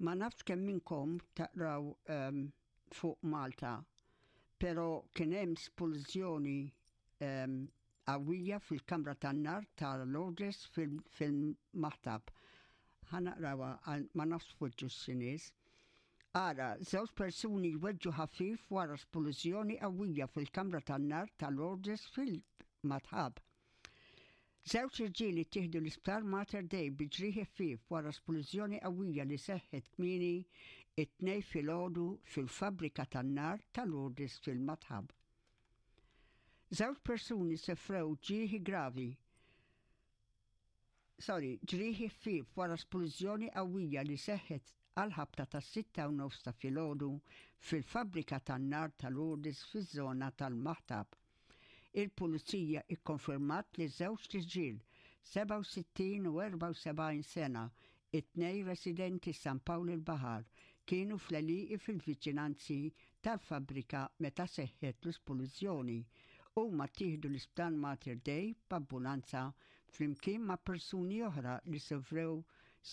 Ma nafx kemm minnkom taqraw um, fuq Malta, pero kien hemm spulżjoni um, qawwija fil-kamra tan-nar ta' Lourdes fil-Maħtab. Ħa naqrawha ma nafx fuġġu x-nies. Ara, żewġ persuni jweġġu ħafif wara splużjoni qawwija fil-kamra tan-nar ta' Lourdes fil-Matħab. Żewġ irġiel ittieħdu l-Isptar Mater Dei bi ġrieħi ħfief wara splużjoni qawwija li seħħet kmieni it-Tnejn filgħodu fil-fabbrika tan-nar ta' Lourdes fil-Matħab. Żewġ persuni sofrew ġrieħi gravi sorry, ġrieħi ħfief wara splużjoni qawwija li seħħet għall-ħabta tas-sitta u nofs ta' filgħodu fil-fabbrika tan-nar ta' Lourdes fiż-żona tal-Maħtab. Il-Pulizija ikkonfermat li żewġt irġiel, 67 u 74 sena, it-tnejn residenti San Pawl il-Baħar, kienu fl-għelieqi fil-viċinanzi tal-fabbrika meta seħħet l-isplużjoni. Huma ttieħdu l-Isptar Mater Dei b'ambulanza flimkien ma' persuni oħra li sofrew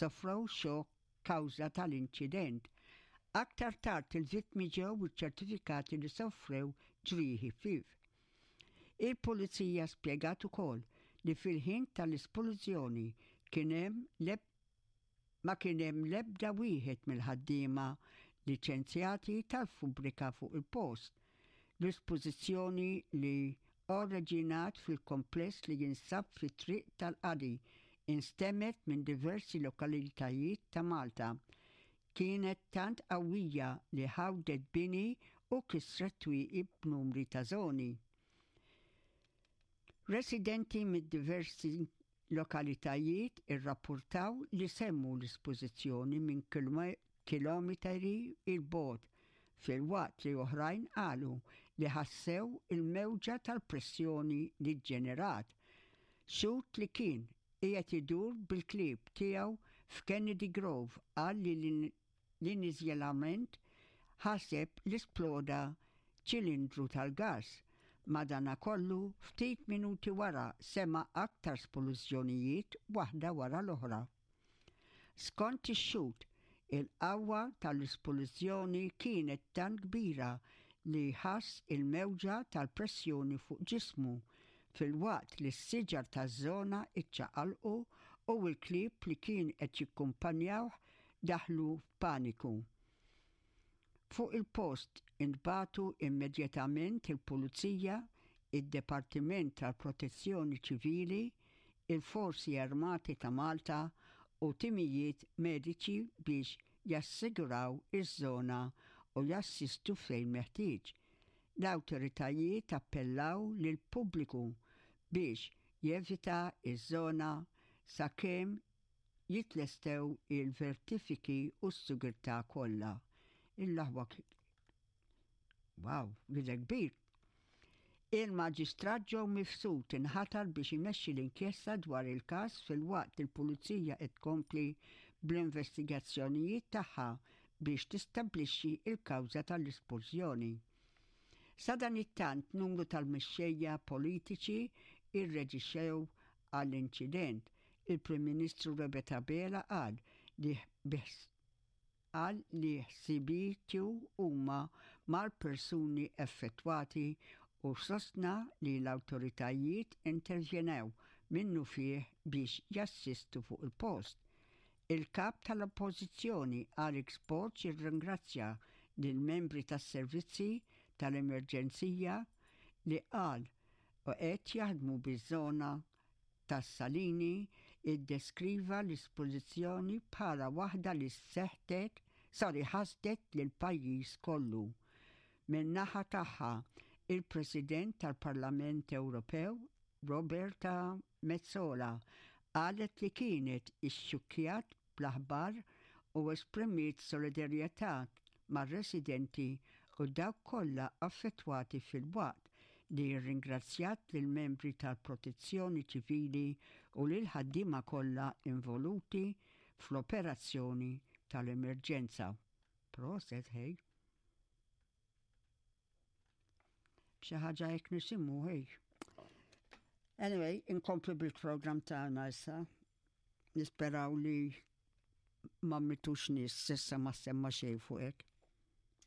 sofrew xokk kawża tal-inċident. Aktar tard il-vittmi ġew iċċertifikati li sofrew ġrieħi ħfief. Il-Pulizija spjegat ukoll li fil-ħin tal-isplużjoni kien hemm ma kien hemm l-ebda wieħed mill-ħaddiema liċenzjati tal-fubbrika fuq il-post. L-ispożizzjoni li oriġinat fil-kompless li jinsab fit-Triq tal-Qadi instemgħet minn diversi lokalitajiet ta' Malta. Kienet tant qawwija li ħawdet bini u kissret twieqi b'numri ta' żoni. Residenti mid-diversi Lokalitajiet irrappurtaw li semmu l-ispożizzjoni minn kilometeri 'il bogħod, filwaqt li oħrajn qalu li ħassew il-mewġa tal-pressjoni li ġġenerat. Xhud li kien qiegħed idur bil-klieb tiegħu f'Kennedy Grove qal li L-iniżjelament ħaseb li sploda ċilindru tal-gass. Madanakollu, ftit minuti wara sema' aktar splużjonijiet waħda wara l-oħra. Skont ix-xhud, il-qawwa tal-isplużjoni kienet tant kbira li ħass il-mewġa tal-pressjoni fuq ġismu filwaqt li s-siġar taż-żona ċċaqalqu u l-klieb li kien qed jikkumpanjawh daħlu f'paniku. Fuq il-post intbagħtu immedjatament il-Pulizija, id-Dipartiment tal-Protezzjoni Ċivili, il-Forzi Armati ta' Malta u timijiet mediċi biex jassiguraw iż-żona u jassistu fejn meħtieġ. L-awtoritajiet appellaw lill-pubbliku biex jevita ż-żona sakemm jitlestew il-vertifiki u s-sigurtà kollha. Il-aħwa Wow, bidel kbir. Il-Maġistrat Joe Mifsud inħatar biex imexxi l-inkjesta dwar il-każ filwaqt li l-Pulizija qed tkompli bl-investigazzjonijiet tagħha biex tistabblixxi l-kawża tal-isplużjoni. Sadanittant numru tal-mexxejja politiċi rreġixxew għall-inċident. Il-Prim Ministru Robert Abela qal li qal li ħsibietu huma mal-persuni effettwati u sostna li l-awtoritajiet intervjenew minnufih biex jassistu fuq il-post. Il-Kap tal-Oppożizzjoni Alex Borg irringrazzja lill-membri tas-servizzi tal-emerġenzija li qal u qed jaħdmu biż-żona tas-Salini iddeskriva l-ispożizzjoni bħala waħda li seħtet, sorry, ħasdet lill-pajjiż kollu. Min-naħa tagħha, il-President tal-Parlament Ewropew, Roberta Metsola, qalet li kienet ixxukkjat bl-aħbar u esprimiet solidarjetà mar-residenti u dawk kollha affettwati filwaqt li rringrazzjat lill-membri tal-Protezzjoni Ċivili u lill-ħaddiema kollha involuti fl-operazzjoni tal-emerġenza. Proset ħej. Xi ħaġa hekk nisimgħu ħej. Anyway, inkomplu bil-programm tagħna issa. Nisperaw li ma mitux nies s'issa ma ssemma xejn fuq hekk.